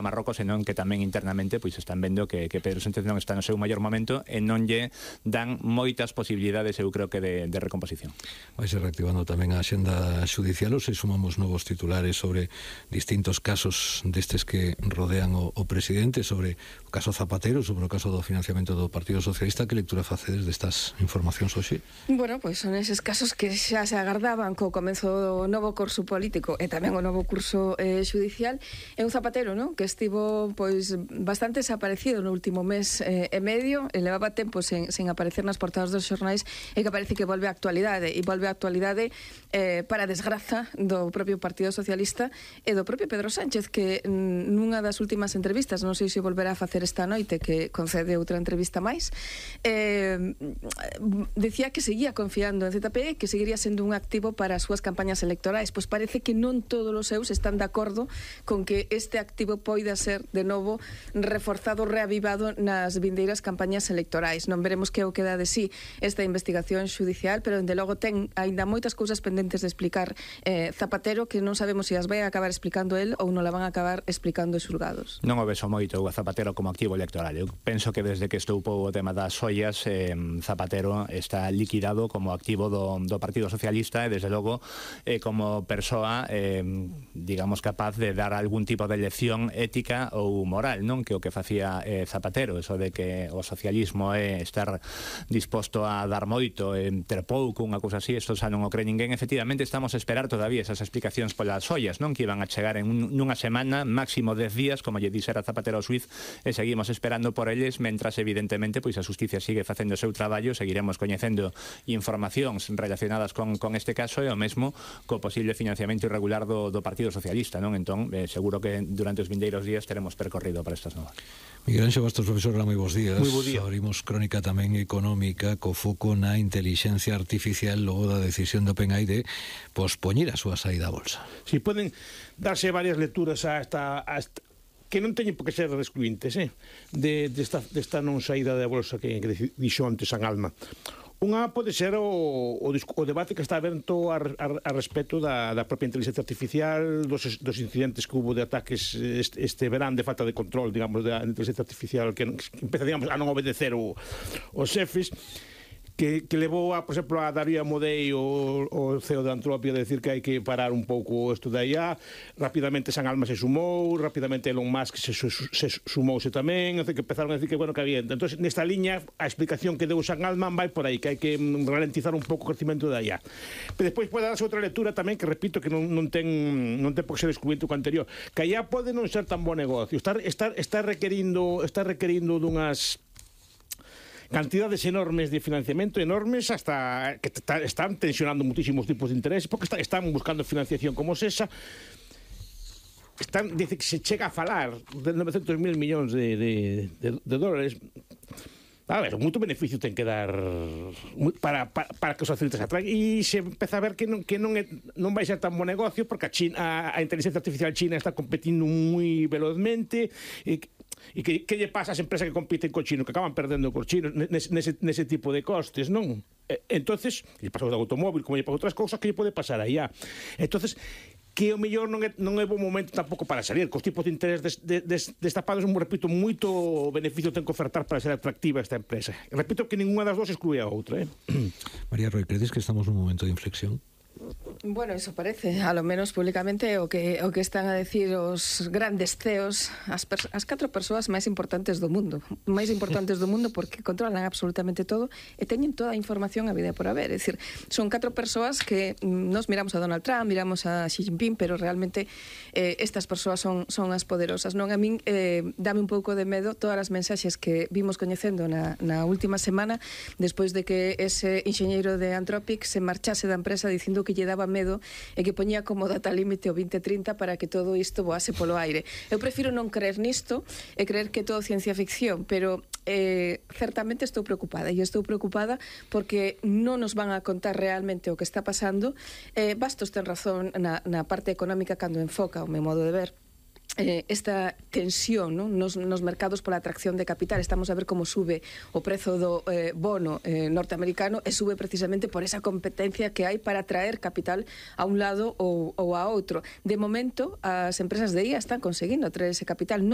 Marrocos, senón que tamén internamente pois están vendo que Pedro Sánchez non está no seu maior momento e non lle dan moitas posibilidades, eu creo que de recomposición. Vai ser reactivando tamén a axenda xudicial, ou se sumamos novos titulares sobre distintos casos destes que rodean o presidente, sobre o caso Zapatero, sobre o caso do financiamento do Partido Socialista. Que lectura facedes destas informacións hoxe? Bueno, pois son eses casos que xa se agardaban co comenzo do novo curso político e tamén o novo curso xudicial. É un Zapatero, non? Que estivo pois bastante desaparecido no último mes e medio, e levaba tempo sen aparecer nas portadas dos xornais, e que parece que volve á actualidade, e volve á actualidade para desgraza do propio Partido Socialista e do propio Pedro Sánchez, que nunha das últimas entrevistas, non sei se volverá a facer esta noite, que concede outra entrevista máis, decía que seguía confiando en ZPE, que seguiría sendo un activo para as súas campañas electorais. Pois parece que non todos os seus están de acordo con que este activo poida ser de novo reforzado, reavivado nas vindeiras campañas electorais. Non veremos que o queda de sí esta investigación xudicial, pero dende logo ten aínda moitas cousas pendentes de explicar Zapatero, que non sabemos se as vai acabar explicando el ou non la van a acabar explicando os xulgados. Non o vexo moito a Zapatero como activo electoral. Eu penso que desde que estoupou o tema das ollas, Zapatero está liquidado como activo do Partido Socialista e desde logo como persoa digamos capaz de dar algún tipo de lección ética ou moral, non? Que o que facía Zapatero, eso de que o socialismo é estar disposto a dar moito, ter pouco, unha cousa así, isto xa non o cree ninguén. Efectivamente, estamos a esperar todavía esas explicacións polas ollas, non? Que iban a chegar en nunha semana, máximo 10 días, como lle dixera Zapatero ao xuiz, e seguimos esperando por eles, mentras, evidentemente, pois a xusticia sigue facendo o seu traballo, seguiremos coñecendo informacións relacionadas con este caso e o mesmo co posible financiamento irregular do Partido Socialista, non? Entón, seguro que durante os vindeiros días teremos percorrido para estas novas. Miguel Anxo Bastos, profesor, moi bons días. Moi bo día. Abrimos crónica tamén económica co foco na intelixencia artificial logo da decisión do PENAI de pospoñer a súa saída á bolsa. Si poden darse varias lecturas a que non teñen por que ser excluintes, desta non saída da bolsa que dixo antes San Alma. Unha pode ser o debate que está aberto a respecto da propia inteligencia artificial, dos incidentes que hubo de ataques este verán de falta de control, digamos, da inteligencia artificial que empeza, digamos, a non obedecer os xefes, que levou, por exemplo, a Darío Amodei, o CEO de Antropia, a decir que hai que parar un pouco isto da IA. Rapidamente San Alma se sumou, rapidamente Elon Musk se sumouse tamén, que empezaron a decir que, bueno, que había. Entón, nesta liña, a explicación que deu San Alma vai por aí, que hai que ralentizar un pouco o crecimento da IA. Pero despois pode darse outra lectura tamén, que repito, que non ten por que ser excluinte o anterior, que a IA pode non ser tan bo negocio, está requerindo dunhas cantidades enormes de financiamento, enormes, hasta que están tensionando muchísimos tipos de intereses, porque están buscando financiación como esa. Dice que se chega a falar de 900.000 millóns de dólares. A ver, moito beneficio ten que dar para que os accionistas atraen, e se empeza a ver que non vai ser tan bo negocio, porque a inteligencia artificial china está competindo moi velozmente, e que lle pasa ás empresas que compiten co chino, que acaban perdendo cos chinos nese tipo de costes, non? Entonces, lle pasa o automóvil, como lle pasa outras cousas, que lle pode pasar aí. Entonces, que o mellor non é bo momento tampouco para salir, cos tipos de interés destapados, repito, moito beneficio ten que ofertar para ser atractiva esta empresa. Repito que ninguna das dos exclúe a outra. María Roy, credes que estamos nun momento de inflexión? Bueno, eso parece, a lo menos públicamente, o que están a decir os grandes CEOs, as 4 persoas máis importantes do mundo, porque controlan absolutamente todo e teñen toda a información a vida por haber. É dicir, son 4 persoas que nos miramos a Donald Trump, miramos a Xi Jinping, pero realmente estas persoas son as poderosas. Non, a min dame un pouco de medo todas as mensaxes que vimos coñecendo na última semana, despois de que ese enxeñeiro de Anthropic se marchase da empresa dicindo que lle daba medo e que poñía como data límite o 2030 para que todo isto voase polo aire. Eu prefiro non creer nisto e creer que todo ciencia ficción, pero certamente estou preocupada, e estou preocupada porque non nos van a contar realmente o que está pasando. Bastos ten razón na parte económica cando enfoca, o meu modo de ver, esta tensión, non? Nos mercados pola atracción de capital. Estamos a ver como sube o prezo do bono norteamericano e sube precisamente por esa competencia que hai para atraer capital a un lado ou a outro. De momento, as empresas de IA están conseguindo atraer ese capital, non